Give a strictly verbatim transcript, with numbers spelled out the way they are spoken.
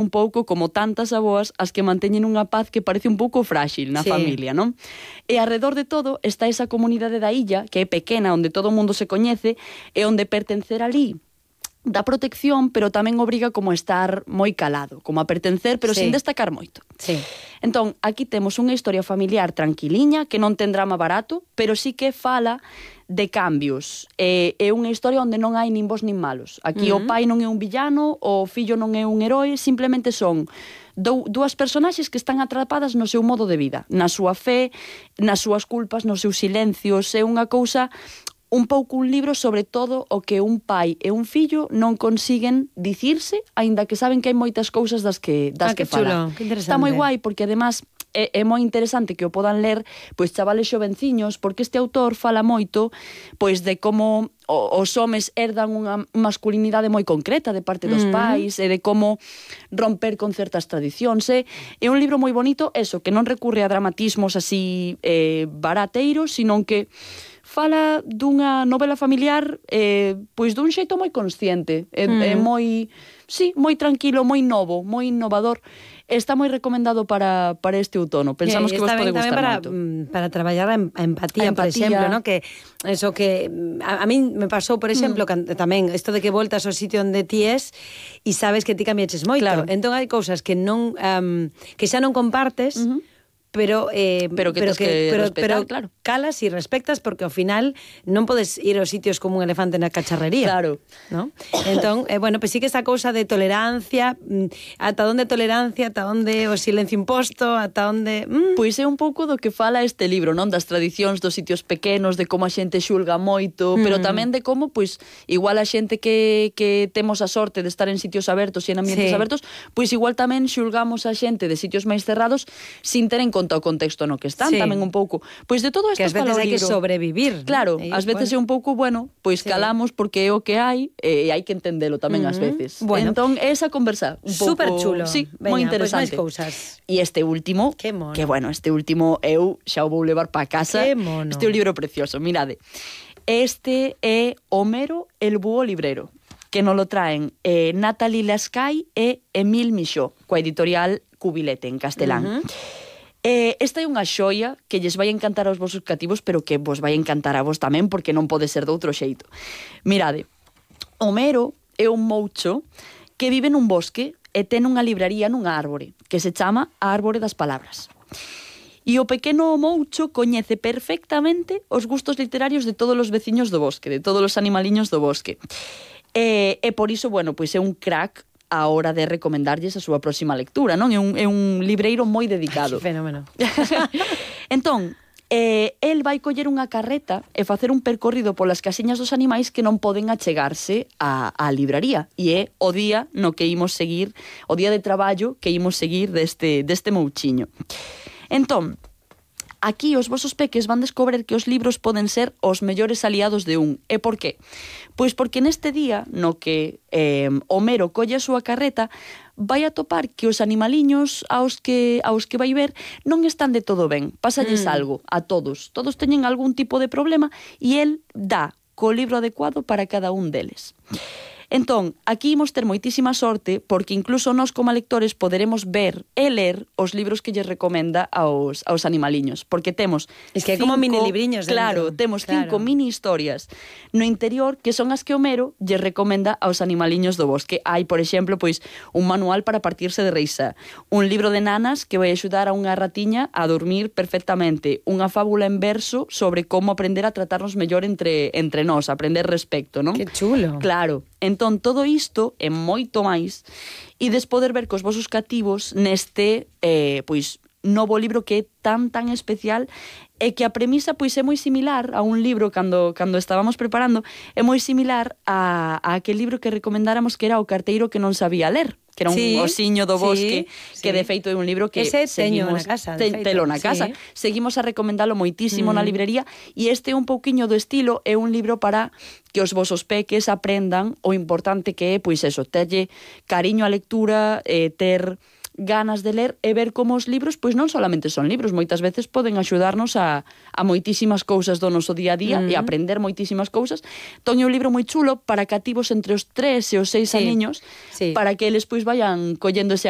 un pouco como tantas aboas as que manteñen unha paz que parece un pouco frágil na Sí. familia, non? E alrededor de todo está esa comunidade da illa, que é pequena, onde todo o mundo se coñece, e onde pertencer ali dá protección, pero tamén obriga como a estar moi calado, como a pertencer, pero Sí. sin destacar moito. Sí. Entón, aquí temos unha historia familiar tranquiliña, que non ten drama barato, pero sí que fala de cambios. É, é unha historia onde non hai nin bons nin malos. Aquí Uh-huh. o pai non é un villano, o fillo non é un heroe, simplemente son dou, dúas personaxes que están atrapadas no seu modo de vida, na súa fe, nas súas culpas, nos seus silencios. É unha cousa, un pouco un libro sobre todo o que un pai e un fillo non consiguen dicirse, aínda que saben que hai moitas cousas das que, das Ah, que que chulo, falan. que interesante. Está moi guai porque además é, é moi interesante que o podan ler pois chavales xovenciños, porque este autor fala moito pois de como o, os homes herdan unha masculinidade moi concreta de parte dos Mm. pais e de como romper con certas tradicións. É, é un libro moi bonito, eso, que non recurre a dramatismos así eh, barateiros, sino que fala dunha novela familiar eh, pois dun xeito moi consciente, é, Mm. é moi, sí, moi tranquilo, moi novo, moi innovador. Está moi recomendado para, para este outono. Pensamos E que vos está pode ben tamén gustar para, moito. mm, para traballar a, em- a empatía, A por empatía. exemplo, ¿no? Que eso que mm, a, a min me pasou, por exemplo, mm. tamén isto de que voltas ao sitio onde ti es e sabes que ti cambiaches moito. Claro. Entón hai cousas que non um, que xa non compartes, Uh-huh. pero eh, Pero que tes que pero, respetar, pero claro. calas e respectas porque ao final non podes ir aos sitios como un elefante na cacharrería. Claro. ¿No? Entón, eh, bueno, pues sí que esa cousa de tolerancia, mm, ata onde tolerancia, ata onde o silencio imposto, ata onde... Mm. Pois é un pouco do que fala este libro, non? Das tradicións dos sitios pequenos, de como a xente xulga moito, Mm. pero tamén de como, pois, igual a xente que, que temos a sorte de estar en sitios abertos e en ambientes Sí. abertos, pois igual tamén xulgamos a xente de sitios máis cerrados sin ter en conta o contexto no que están, Sí. tamén un pouco. Pois de todo isto Que ás veces fala o hai que libro. sobrevivir. Claro, ¿no? E, ás veces bueno. é un pouco, bueno, pois Sí. calamos porque é o que hai e hai que entendelo tamén ás Ujú. veces. Bueno. Entón, esa conversa un pouco... Súper chulo. Sí, Veña, moi pois interesante. máis cousas. E este último, Que mono. que bueno, este último eu xa o vou levar para casa. Que mono. Este é un libro precioso, mirade. Este é Homero el búho librero, que nos lo traen eh, Natalie Lascai e Emile Michaud, coa editorial Cubilete en castelán. Uh-huh. Eh, esta é unha xoia que lles vai encantar aos vosos cativos, pero que vos vai encantar a vos tamén, porque non pode ser de outro xeito. Mirade, Homero é un moucho que vive nun bosque e ten unha libraría nunha árbore, que se chama a Árbore das Palabras. E o pequeno moucho coñece perfectamente os gustos literarios de todos os veciños do bosque, de todos os animaliños do bosque. E, e por iso, bueno, pois é un crack a hora de recomendarlles a súa próxima lectura, non? É un, é un libreiro moi dedicado. Que fenómeno. Entón, eh, el vai coller unha carreta e facer un percorrido polas casiñas dos animais que non poden achegarse á, á libraría. E é o día no que imos seguir, o día de traballo que imos seguir deste, deste mouchiño. Entón, aquí os vosos peques van descobrir que os libros poden ser os mellores aliados de un. E por qué? Pois porque neste día no que eh, Homero colle a súa carreta, vai a topar que os animaliños aos que aos que vai ver non están de todo ben. Pásalles Mm. algo a todos. Todos teñen algún tipo de problema e el dá co libro adecuado para cada un deles. Entón, aquí imos ter moitísima sorte porque incluso nós como lectores poderemos ver e ler os libros que lles recomenda aos, aos animaliños, porque temos Es que hai como mini libriños dentro. Claro, temos Claro. cinco mini historias no interior que son as que Homero lles recomenda aos animaliños do bosque. Hai, por exemplo, pois un manual para partirse de risa, un libro de nanas que vai axudar a unha ratiña a dormir perfectamente, unha fábula en verso sobre como aprender a tratarnos mellor entre entre nós, aprender respecto, non? Que chulo. Claro. Entón, todo isto é moito máis e des poder ver cos vosos cativos neste, eh, pois, novo libro que é tan, tan especial e que a premisa, pois, é moi similar a un libro cando, cando estábamos preparando, é moi similar a, a aquel libro que recomendáramos que era O carteiro que non sabía ler, que era un Sí, osiño do sí, bosque, sí. que de feito é un libro que Ese teño seguimos, na casa, de te, feito, telo na sí. casa, seguimos a recomendalo moitísimo Mm. na librería e este é un pouquiño do estilo, é un libro para que os vosos peques aprendan o importante que é, pois eso, terlle cariño á lectura, eh, ter ganas de ler e ver como os libros, pois non solamente son libros, moitas veces poden axudarnos a, a moitísimas cousas do noso día a día uh -huh. e aprender moitísimas cousas. Entón é un libro moi chulo para cativos entre os tres e os seis sí. aniños, sí. para que eles pois vayan collendo ese